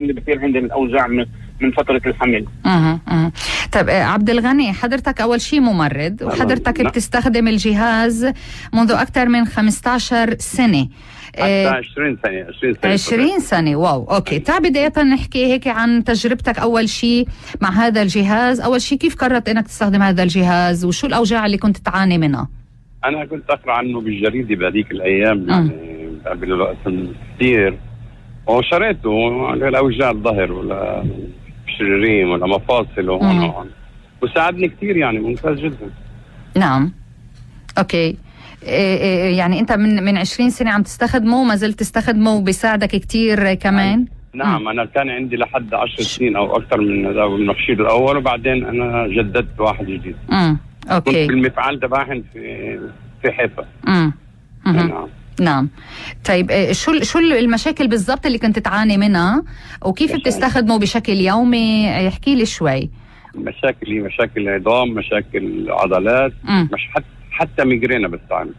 اللي بصير عندي من اوجاع من فتره الحمل. طيب عبد الغني، حضرتك اول شيء ممرض وحضرتك بتستخدم الجهاز منذ اكثر من 15 سنه. حتى 20 سنه 20 سنه. واو. اوكي، تعال بدايه نحكي هيك عن تجربتك اول شيء مع هذا الجهاز. اول شيء كيف قررت انك تستخدم هذا الجهاز وشو الاوجاع اللي كنت تعاني منها؟ انا كنت اقرا عنه بالجريده بهذيك الايام، يعني قبل الوقت كثير، وشريته لأوجاع الظهر ولا شريرين ولا مفاصل وهون، وساعدني كثير، يعني ممتاز جدا. نعم. اوكي، يعني انت من 20 سنه عم تستخدمه وما زلت تستخدمه وبيساعدك كثير كمان؟ نعم. انا كان عندي لحد 10 سنين او اكثر من المخشير الاول، وبعدين انا جددت واحد جديد. اوكي. كنت بالمفعال تبعهم في حيفا. نعم. نعم. طيب شو المشاكل بالضبط اللي كنت تعاني منها وكيف بتستخدمه بشكل يومي؟ يحكي لي شوي. مشاكل عظام، مشاكل عضلات، مش حتى ميجرينا بستعمل.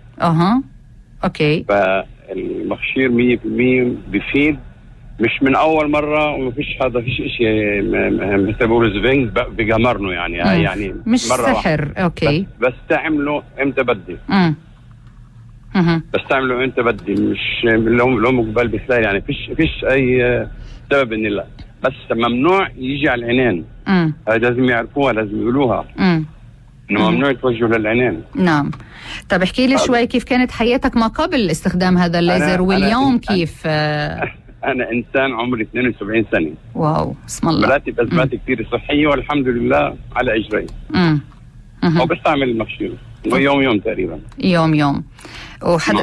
اوكي. فالمخشير 100% بفيد، مش من اول مره، ومفيش شيء مثل بيقولوا زفينج بجمرنه، يعني يعني مش مرة سحر واحدة. اوكي. بس تعمله امتى بدي. بس تعمله انت بدي، مش لو قبل بسلاي، يعني فيش اي سبب اني لا، بس ممنوع يجي على العينين. هذا لازم يعرفوها، لازم يقولوها انه ممنوع يتوجهوا للعينين. نعم. طب احكي لي شوي كيف كانت حياتك ما قبل استخدام هذا الليزر واليوم كيف؟ انا انسان عمري 72 سنه. واو، اسم الله. مراتب ازمات كثير صحيه والحمد لله على اجري. وبستعمل المخشير يوم تقريبا. يوم.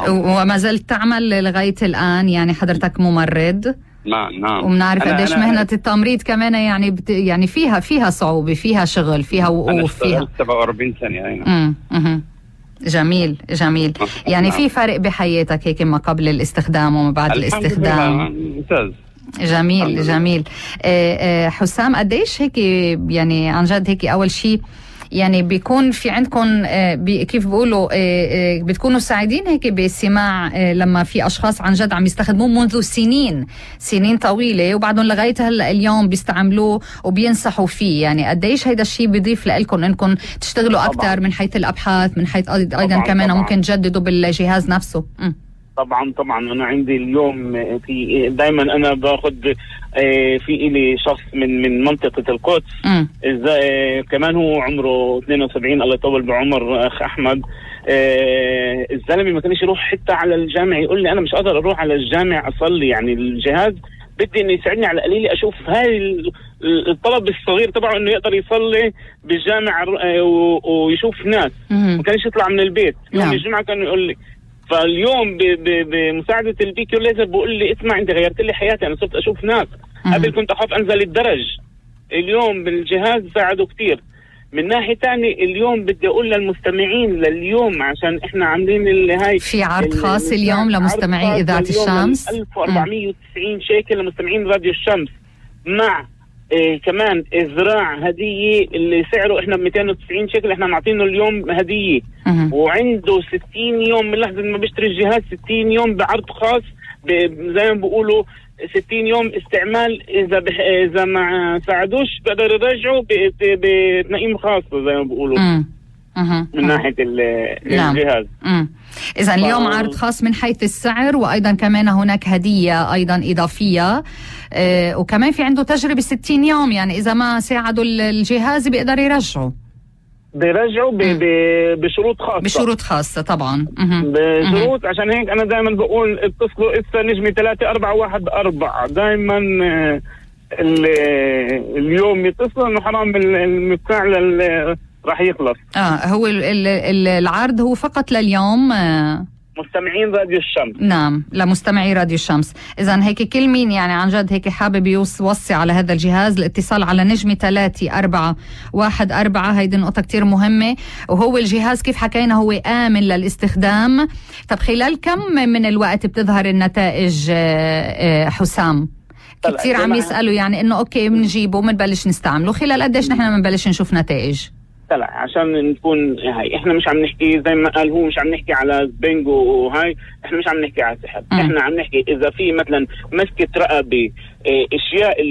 وما زلت تعمل لغاية الآن، يعني حضرتك ممرض. نعم. وبنعرف قديش مهنة التمريض كمان، يعني يعني فيها صعوبة، فيها شغل، فيها وقوف، فيها 47 سنة. جميل. يعني في فرق بحياتك هيك ما قبل الاستخدام وما بعد الاستخدام؟ ممتاز. جميل. حسام، قديش هيك يعني عن جد هيك أول شيء يعني بيكون في عندكم كيف بيقولوا بتكونوا سعيدين هيك بسماع لما في أشخاص عن جد عم يستخدموه منذ سنين طويلة وبعدهم لغاية هلا اليوم بيستعملوه وبينصحوا فيه؟ يعني قديش هيدا الشيء بيضيف لكم انكم تشتغلوا أكثر من حيث الأبحاث، من حيث أيضا كمان ممكن تجددوا بالجهاز نفسه؟ طبعا انا عندي اليوم في دائما انا باخذ في إلي شخص من منطقه القدس، كمان هو عمره 72، الله يطول بعمر اخ احمد. الزلمه ما كانش يروح حتى على الجامع، يقول لي انا مش قادر اروح على الجامع اصلي، يعني الجهاز بدي انه يساعدني على القليل اشوف هاي الطلب الصغير تبعه انه يقدر يصلي بالجامع ويشوف ناس. ما كانش يطلع من البيت. يوم الجمعه كان يقول لي، فاليوم بمساعدة البيكيو ليزر بقول لي اسمع انت غيرت لي حياتي، انا صرت اشوف ناس قبل كنت اخاف انزل الدرج، اليوم بالجهاز ساعده كتير. من ناحية تانية اليوم بدي اقول للمستمعين لليوم، عشان احنا عاملين هاي في عرض خاص اليوم لمستمعي اذاعة الشمس، 1490 شيكل لمستمعين راديو الشمس، مع كمان ازراع هدية اللي سعره احنا ب 290 شيكل، احنا معطينه اليوم هدية. وعنده 60 يوم من لحظة ما بيشتري الجهاز، 60 يوم بعرض خاص، زي ما بيقولوا 60 يوم استعمال، اذا ما ساعدوش بقدر يرجعوا بتنقيم خاصة زي ما بيقولوا من ناحية الجهاز. إذا اليوم عرض خاص من حيث السعر، وأيضا كمان هناك هدية أيضا إضافية، وكمان في عنده تجربة 60 يوم، يعني إذا ما ساعدوا الجهاز بيقدر بيرجعوا بشروط خاصة طبعا. بشروط. عشان هيك أنا دائما بقول اتصلوا إسا نجمي 3414 دائما اليوم يتصلوا إنه حرام المفاعل راح يخلص. هو العرض هو فقط لليوم مستمعين راديو الشمس. نعم، لمستمعي راديو الشمس. إذن هيك كل مين يعني عن جد هيك حابب يوصي على هذا الجهاز، الاتصال على نجمة 3414. هيدي نقطة كتير مهمة. وهو الجهاز كيف حكينا هو آمن للاستخدام. طب خلال كم من الوقت بتظهر النتائج حسام؟ كتير عم يسألوا يعني إنه أوكي بنجيبه بنبلش نستعمله، خلال قديش نحن بنبلش نشوف نتائج؟ طلع عشان نكون هاي احنا مش عم نحكي زي ما قال هو، مش عم نحكي على بينجو وهاي، احنا مش عم نحكي على سحر. احنا عم نحكي اذا في مثلا مسكة رقبة اشياء اللي